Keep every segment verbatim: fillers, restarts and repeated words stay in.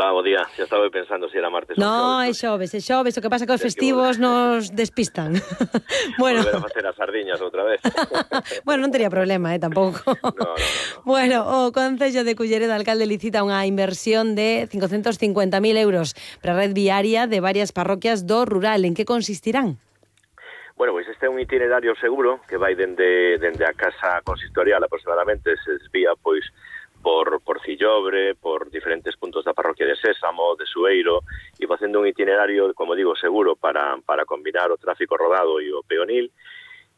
Hola, bo día. Xa estaba pensando se era martes ou No, é xoves. xoves, é xoves. O que pasa que os Tes que festivos volver. nos despistan. Bueno. Volver a facer as sardiñas outra vez. Bueno, non tería problema, eh, tampouco. No, no, no, no. Bueno, o Concello de Culleredo, alcalde, licita unha inversión de cincocentos cincuenta mil euros para a red viaria de varias parroquias do rural. En que consistirán? Bueno, pois este é un itinerario seguro que vai dende, dende a casa consistorial aproximadamente, se desvía pois por, por Cillobre, por diferentes puntos da parroquia de Sésamo, de Sueiro, e facendo un itinerario, como digo, seguro para, para combinar o tráfico rodado e o peonil.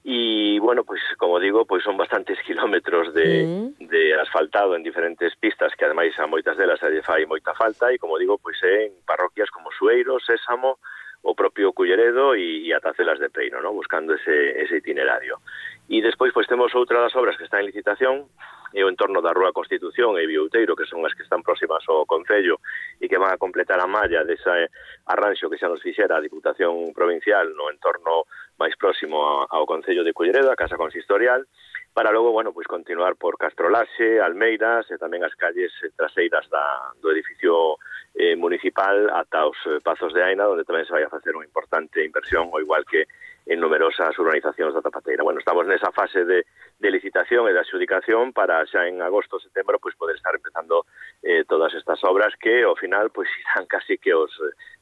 E, bueno, pois, como digo, pois son bastantes kilómetros de, mm. de asfaltado en diferentes pistas, que ademais a moitas delas lle fai moita falta, e, como digo, pois é en parroquias como Sueiro, Sésamo, o propio Culleredo e, e ata Celas de Peiro, ¿no? Buscando ese, ese itinerario. E despois, pois, temos outra das obras que está en licitación, e o entorno da Rúa Constitución e Biouteiro, que son as que están próximas ao Concello e que van a completar a malla dese arranxo que xa nos fixera a Diputación Provincial no entorno máis próximo ao Concello de Culleredo, a Casa Consistorial, para logo, bueno, pois continuar por Castrolaxe, Almeiras e tamén as calles traseiras da, do edificio eh, municipal ata os eh, Pazos de Aina, onde tamén se vai a facer unha importante inversión, ao igual que en numerosas urbanizacións da Tapateira. Bueno, estamos nesa fase de, de licitación e de adxudicación para xa en agosto, setembro, pois poder estar empezando eh, todas estas obras que, ao final, pois irán casi que os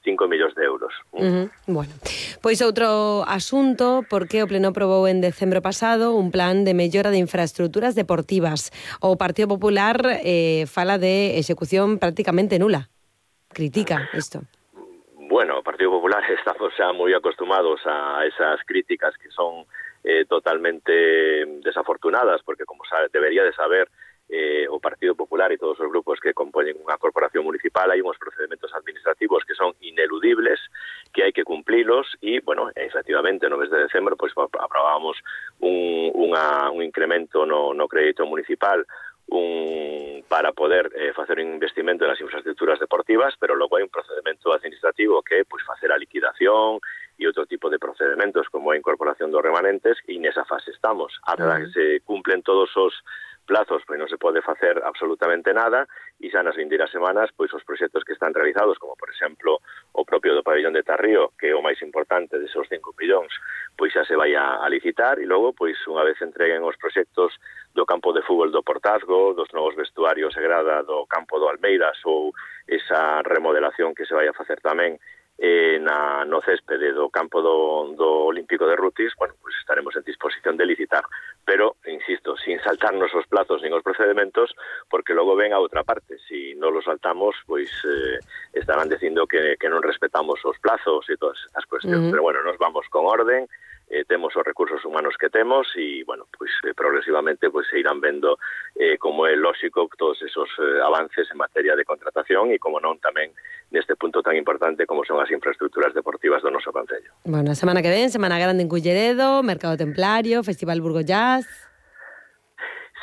cinco millóns de euros. Uh-huh. Bueno, pois outro asunto, porque o Pleno aprobou en decembro pasado un plan de mellora de infraestructuras deportivas. O Partido Popular eh, fala de execución prácticamente nula. Critica isto. Bueno, o Partido Popular estamos xa moi acostumados a esas críticas que son eh, totalmente desafortunadas, porque como sabe, debería de saber eh, o Partido Popular e todos os grupos que compoñen unha corporación municipal, hai uns procedimentos administrativos que son ineludibles, que hai que cumplilos e, bueno, efectivamente, no mes de decembro, pois aprobábamos un, unha, un incremento no, no crédito municipal un para poder eh, facer un investimento nas infraestructuras deportivas, pero logo hai un procedimento administrativo que é pois facer a liquidación e outro tipo de procedimentos como a incorporación dos remanentes, e nesa fase estamos. Ata uh-huh. que se cumplen todos os plazos, pois non se pode facer absolutamente nada, e xa nas vindeiras semanas, pois os proxectos que están realizados, como por exemplo o propio do pabellón de Tarrío, que é o máis importante desos cinco millóns, pois xa se vai a, a licitar, e logo, pois unha vez entreguen os proxectos do campo de fútbol do Portazgo, dos novos vestuarios e grada do campo do Almeiras, ou esa remodelación que se vai a facer tamén eh, na, no céspede do campo do, do Olímpico de Rutis, bueno, pues estaremos en disposición de licitar. Pero, insisto, sin saltarnos os plazos nin os procedimentos, porque logo ven a outra parte. Si non los saltamos, pois eh, estarán dicindo que, que non respetamos os plazos e todas estas cuestións. Uh-huh. Pero, bueno, nos vamos con orden, eh, temos os recursos humanos que temos e, bueno, pois eh, progresivamente pois se irán vendo eh, como é lóxico todos esos eh, avances en materia de contratación e, como non, tamén neste punto tan importante como son as infraestructuras deportivas do noso concello. Bueno, a semana que ven, Semana Grande en Culleredo, Mercado Templario, Festival Burgo Jazz.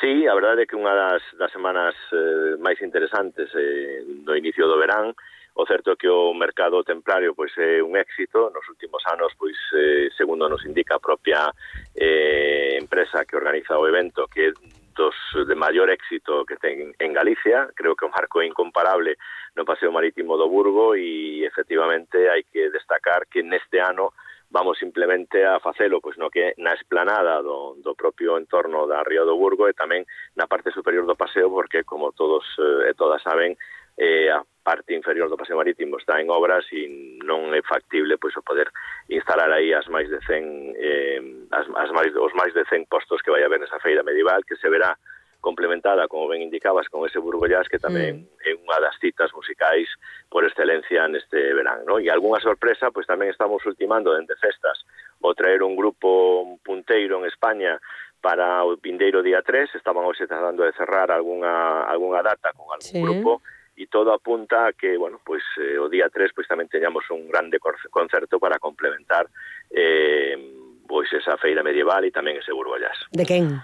Sí, a verdade é que unha das, das semanas eh, máis interesantes eh, do inicio do verán. O certo é que o mercado templario pois é un éxito nos últimos anos, pois eh, segundo nos indica a propia eh, empresa que organiza o evento, que é dos de maior éxito que ten en Galicia. Creo que o marco é incomparable no Paseo Marítimo do Burgo e efectivamente hai que destacar que neste ano vamos simplemente a facelo pois no que na esplanada do, do propio entorno da Ría do Burgo e tamén na parte superior do paseo, porque como todos e eh, todas saben, eh, a parte inferior do Paseo Marítimo está en obras e non é factible pois o poder instalar aí as máis de cen eh, as, as máis, os máis de cen postos que vai haber nesa feira medieval, que se verá complementada, como ben indicabas, con ese Burgo Jazz, que tamén mm. é unha das citas musicais por excelencia neste verán, ¿no? E algunha sorpresa, pois tamén estamos ultimando dende festas o traer un grupo punteiro en España para o vindeiro día tres. Estaban hoxe tratando de cerrar algunha, algunha data con algún sí. grupo, e todo apunta a que, bueno, pois eh, o día tres pois tamén teñamos un grande concerto para complementar eh, pois esa feira medieval e tamén ese Burgo Jazz. De quen?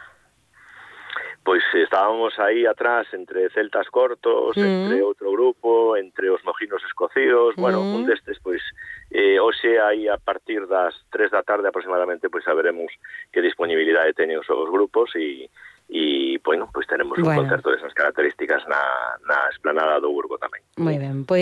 Pois estábamos aí atrás entre celtas cortos, mm. entre outro grupo, entre os mojinos escocidos, mm. bueno, un destes, pois, eh, hoxe aí a partir das tres da tarde aproximadamente, pois saberemos que disponibilidade teñen os, os grupos e, e, bueno, pois tenemos bueno. un concerto desas características na, na esplanada do Burgo tamén. Moi ben, pois